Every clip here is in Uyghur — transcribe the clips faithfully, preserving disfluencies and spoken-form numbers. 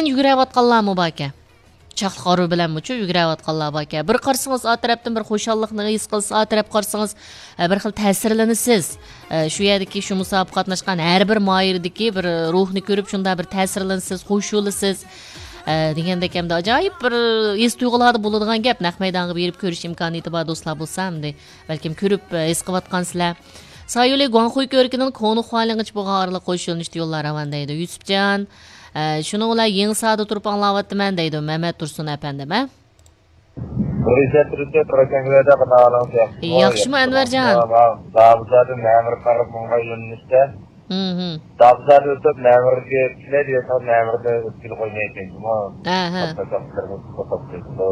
يۈگۈرۈۋاتقانلارمۇ باركەن. چاقلىق ھارۋا بىلەنمۇچۇ يۈگۈرۈۋاتقانلار باركەن. بىر قارىسىڭىز، ئا تەرەپتىن بىر خۇشاللىقنى ھېس قىلسا، ئا تەرەپ قارىسىڭىز، ئە، بىر خىل تەسىرلىنىسىز. ئە، شۇ يەردىكى، شۇ مۇسابىقە قاتناشقان ھەر بىر ماھىرىدىكى بىر روھنى كۆرۈپ، شۇنداق بىر تەسىرلىنىسىز، خۇش بولىسىز. ئە، دېگەندەك ھەمدە ئاجايىپ بىر ھېس تۇيغۇلاردا بولىدىغان گەپ. نەق مەيدانغا بېرىپ كۆرۈش ئىمكانىيىتى بار دوستلار بولسا، ئەمدى بەلكىم كۆرۈپ، ئە، ھېس قىلىۋاتقانسىلەر. سايولى گۇاڭخۇي كۆۋرۈكىنىڭ كونا خۇالىڭغىچە بولغان ئارىلىققا خۇش يۆنىلىشتە يوللار راۋان دەيدۇ يۈسۈپجان. ئە، شۇنىڭ بىلەن يېڭىساردا تۇرۇپ ئاڭلاۋاتىمەن دەيدۇ مەمەت تۇرسۇن ئەپەندىم، ھە؟ بۇ ئىززەت تۇرۇپ تۇرۇپ كۆرۈشەڭگىلەردە قىنالىڭ سىياق. ياخشىمۇ ئەنۋەرجان؟ دابىزادىن نەمىرى قاراپ مۇڭغا يۆنىلىشتە. ھىم. دابىزادىن ئۆتۈپ نەمىرىگە كېلەي دېسەم، نەمىرىدە ئۆتكىلى قويمايدىكەن جۇمۇ. ئەھە. قاتناشچىلىرىمىز توختاپ كېتىدۇ.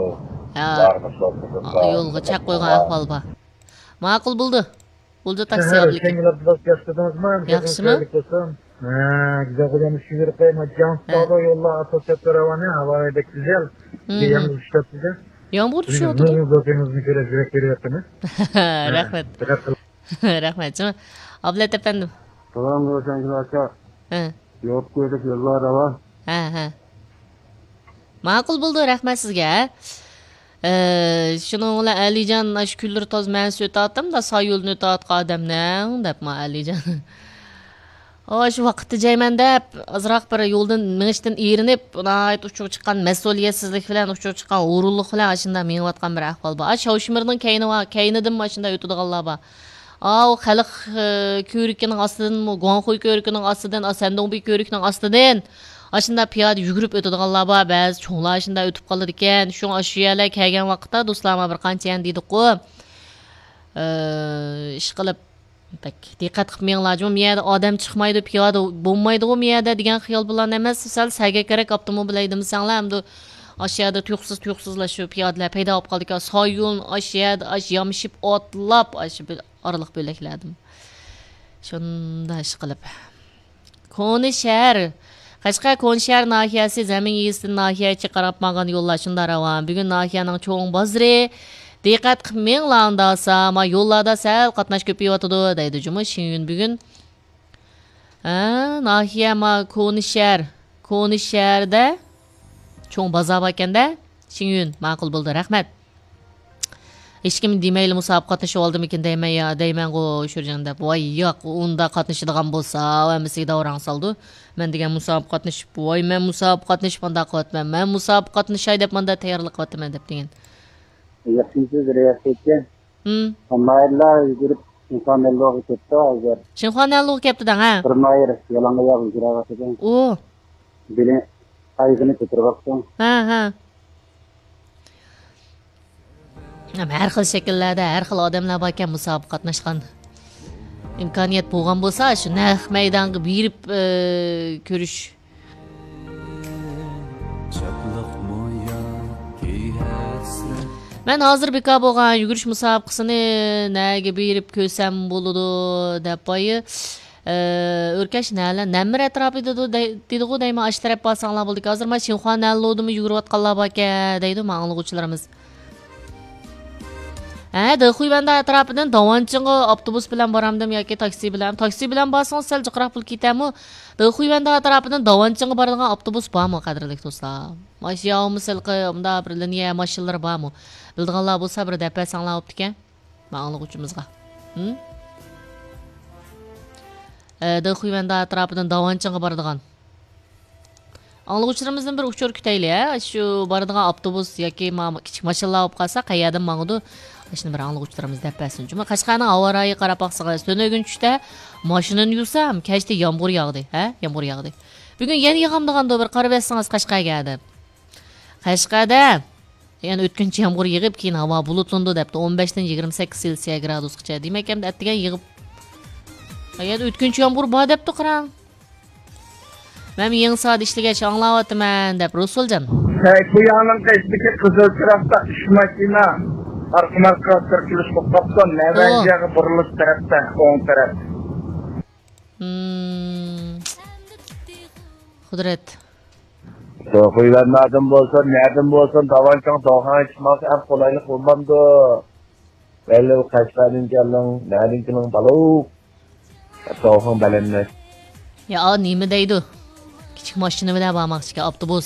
ھە. بارمىز، توختىدۇق. يولغا چەك قويغان ئەھۋال بار. ماقۇل بولدى. بولدى، تاكسى ئابلىكىم. شەڭگىلەپ بىراز ياخشىلىدىڭىزمۇ؟ ياخشىمۇ؟ ھە، گۈزەل خوجام، شۇ يەرگە قايما جان ئۇستازى يوللار ئاساس سەپەر راۋانى، ھاۋا بەك گۈزەل. بىزگە يامغۇر چۈشۈپ كەتتى. يامغۇر چۈشۈۋاتىدۇ. نۇرغۇن دوستىڭىزنى كۆرۈپ يۈرەك بېرىۋاتىمىز. رەھمەت. دىققەت قىلىڭ. رەھمەت. ئابلەت ئەپەندىم. سالام، روشەنگۈل ئاكا. ھە. يوپكا ئۆتۈپ يوللار راۋان. ھە، ھە. ماقۇل بولدى، رەھمەت سىزگە. ئە، شۇنىڭ بىلەن ئەلىجان، ئاشۇ كۈنلىرى تازا مەنىسى ئۆتۈۋاتىدۇ، سايولدىن ئۆتۈۋاتقان ئادەمنىڭ، دەپمۇ ئەلىجان. ئاشۇ ۋاقىتتا جەيمەن دەپ، ئازراق بىر يولدىن مېڭىشتىن ئېرىنىپ، ناھايىتى ئۇچىغا چىققان مەسئۇلىيەتسىزلىك بىلەن، ئۇچىغا چىققان ھۇرۇنلۇق بىلەن ئاشۇنداق مېڭىۋاتقان بىر ئەھۋال بار. ئاشۇ شاۋشىمىرنىڭ كەينى ۋا-، كەينىدىنمۇ ئاشۇنداق ئۆتىدىغانلار بار. ئاۋۇ خەلق، ئى، كۆۋرۈكىنىڭ ئاستىدىنمۇ، گۇاڭخۇي كۆۋرۈكىنىڭ ئاستىدىن، ئا، سەندۇڭبى كۆۋرۈكىنىڭ ئاستىدىن ئاشۇنداق پىيادە يۈگۈرۈپ ئۆتىدىغانلار بار، بەزى چوڭلار ئاشۇنداق ئۆتۈپ قالىدىكەن. شۇڭا ئاشۇ يەرلەرگە كەلگەن ۋاقىتتا دوستلار، مانا بىر قانچە يەرنى دېدۇققۇ. ئى، ئىشقىلىپ، بەك دىققەت قىلىپ مېڭىڭلار، جۇمۇ يەردە ئادەم چىقمايدۇ، پىيادە بولمايدىغۇ مۇ يەردە دېگەن خىيال بىلەن ئەمەس، سەل سەگەكرەك ئاپتوموبىل ھەيدىمىسەڭلار، ئەمدى ئاشۇ يەردە تۇيۇقسىز، تۇيۇقسىزلا شۇ پىيادىلەر پەيدا بولۇپ قالىدىكەن. سايون ئاشۇ يەردە، ئاشۇ يامىشىپ ئاتلاپ، ئاشۇ بىر ئارىلىق بۆلەكلەردىن. شۇنداق ئىش قىلىپ. كونا شەھەر. قەشقەر كونا شەھەر ناھىيەسى زەمىن يېزىسىدىن ناھىيە ئىچىگە قاراپ ماڭغان يوللار شۇنداق راۋان. بۈگۈن ناھىيەنىڭ چوڭ بازىرى. دىققەت قىلىپ مېڭىڭلار ئۇنداقسا، ما يوللاردا سەل قاتناش كۆپىيىۋاتىدۇ، دەيدۇ جۇمۇ شىڭيۈن بۈگۈن. ھە، ناھىيە ما كونا شەھەر. كونا شەھەردە چوڭ بازار باركەن-دە. شىڭيۈن، ماقۇل بولدى، رەھمەت. ھېچكىم دېمەيلا مۇسابىقە قاتنىشىۋالدىمىكىن دەيمەن يا، دەيمەنغۇ شۇرجان دەپ. ۋاي ياق، ئۇنداق قاتنىشىدىغان بولسا ھەممىسىگە داۋراڭ سالىدۇ. مەن دېگەن مۇسابىقە قاتنىشىپ، ۋاي مەن مۇسابىقە قاتنىشىپ مانداق قىلىۋاتىمەن، مەن مۇسابىقە قاتنىشاي دەپ مانداق تەييارلىق قىلىۋاتىمەن دەپ دېگەن. ياخشىمۇسىز رىياسەتچى؟ ھىم. ماھىرلار يۈگۈرۈپ شىنخۇا نەنلۇغا كەپتۇ ھازىر. شىنخۇا نەنلۇغا كەپتۇ دەڭ ھە؟ بىر ماھىر يالاڭ ئاياغ يۈگۈرۈۋاتىدۇ. ئۇ. بېلى ئايىغىنى كۆتۈرۈۋاپتۇ. ھە، ھە. ھەم ھەر خىل شەكىللەردە، ھەر خىل ئادەملەر باركەن مۇسابىقە قاتناشقان. ئىمكانىيەت بولغان بولسا، شۇ نەق مەيدانغا بېرىپ، ئى، كۆرۈش. مەن ھازىر بىكار بولغان يۈگۈرۈش مۇسابىقىسىنى نەگە بېرىپ كۆرسەم بولىدۇ، دەپ بايا. ئۆركەش نەلە، نەممىر ئەتراپى دېدۇ، دەي-، دېدىغۇ دەيمەن، ئاشۇ تەرەپ بارساڭلار بولىدىكەن. ھازىر مانا شىنخۇا نەنلۇدىمۇ يۈگۈرۈۋاتقانلار باركەن، دەيدۇ ماڭا ئاڭلىغۇچىلىرىمىز. ھە، دېخۇيۋەندە ئەتراپىدىن داۋانچىڭغا ئاپتوبۇس بىلەن بارامدىم ياكى تاكسى بىلەن؟ تاكسى بىلەن بارسىڭىز سەل جىقراق پۇل كېتەرمۇ؟ دېخۇيۋەندە ئەتراپىدىن داۋانچىڭغا بارىدىغان ئاپتوبۇس بارمۇ، قەدىرلىك دوستلار؟ ماشىنا ياۋمۇ سىلقى، مۇنداق بىر لىنىيە ماشىنىلىرى بارمۇ؟ بىلىدىغانلار بولسا بىر دەپ بەرسەڭلار بوپتىكەن. ماڭا ئاڭلىغۇچىمىزغا. ھىم؟ ئە، دېخۇيۋەندە ئەتراپىدىن داۋانچىڭغا بارىدىغان. ئاڭلىغۇچىلىرىمىزدىن بىر ئۇچۇر كۈتەيلى، ھە؟ شۇ بارىدىغان ئاپتوبۇس ياكى ما-، كىچىك ماشىنىلار بولۇپ قالسا، قەيەردىن ماڭىدۇ؟ ئاشۇنى بىر ئاڭلىغۇچىلىرىمىز دەپ بەرسۇن. جۇمۇ قەشقەرنىڭ ھاۋا رايىغا قاراپ باقسىڭىز، تۈنۈگۈن چۈشتە ماشىنىنى يۇسام، كەچتە يامغۇر ياغدى، ھە؟ يامغۇر ياغدى. بۈگۈن يەنە ياغامدىغاندۇ، بىر قارىۋەتسىڭىز قەشقەرگە دەپ. قەشقەردە يەنە ئۆتكۈنچى يامغۇر يېغىپ، كېيىن ھاۋا بۇلۇتلىنىدۇ دەپتۇ، ئون بەشتىن يىگىرمە سەككىز سېلسىيە گرادۇسقىچە. دېمەك، ئەمدى ئەتىگەن يېغىپ، ھايات ئۆتكۈنچى يامغۇر بار دەپتۇ، قاراڭ. مەن يېڭىساردا ئىشلىگەچ ئاڭلاۋاتىمەن دەپ، رۇسۇلجان. ھەي، بۇ يانىڭ قېشىدىكى قىزىل چىراغدا ئۈچ ماشىنا ئارقىمۇ ئارقىغا تىركىلىش بولۇپ قاپتۇ. نەۋەنجىگە بۇرۇلۇش تەرەپتە، ئوڭ تەرەپ. ھىم. قۇدرەت. توخۇيۋەننادىن بولسۇن، نەدىن بولسۇن، داۋانچىڭ دوخاڭ چىقماقچى ئەڭ قولايلىق بولمامدۇ؟ بەللى قەشقەردىن كەلدىڭ، نەدىن كېلىڭ بالۇ؟ دوخاڭ بەلەنمەس. يا، نېمە دەيدۇ؟ كىچىك ماشىنا بىلەن بارماقچىكەن، ئاپتوبۇس.